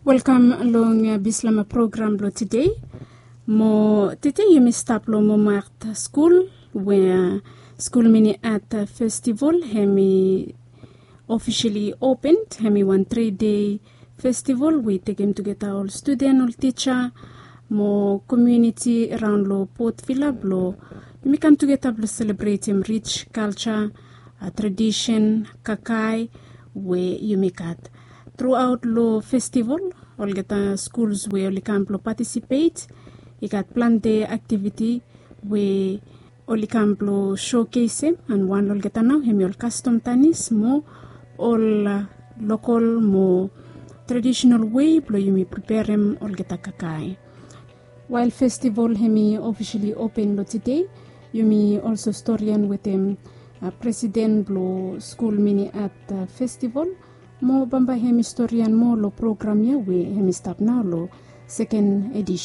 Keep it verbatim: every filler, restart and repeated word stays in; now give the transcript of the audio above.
Welkam long bislama program blong tede. Mo tede yumi stap long Momat skul we skul mini at festival hem i ofisili open. Hem i wan tri dei festival we i tekem tugeta ol studen, ol tija mo komuniti raon long Port Vila blong yumi kam tugeta blong selebretem rij kalja, tradisen, kakae we yumi gat. Truaot long festival olgeta skuls we oli kam blong patisipet i gat plante aktiviti we oli kam blong showkesem. And wan long olgeta nao hem i ol kastom tanis mo ol lokol mo tradisenal wei blong yumi preperem olgeta kakae. Wael festival hem i ofisili open long tede, yumi olso storian wetem presiden blong skul mini at festival mo bambae hem i storian moa long program ya we hem i stap nao long seken edisen.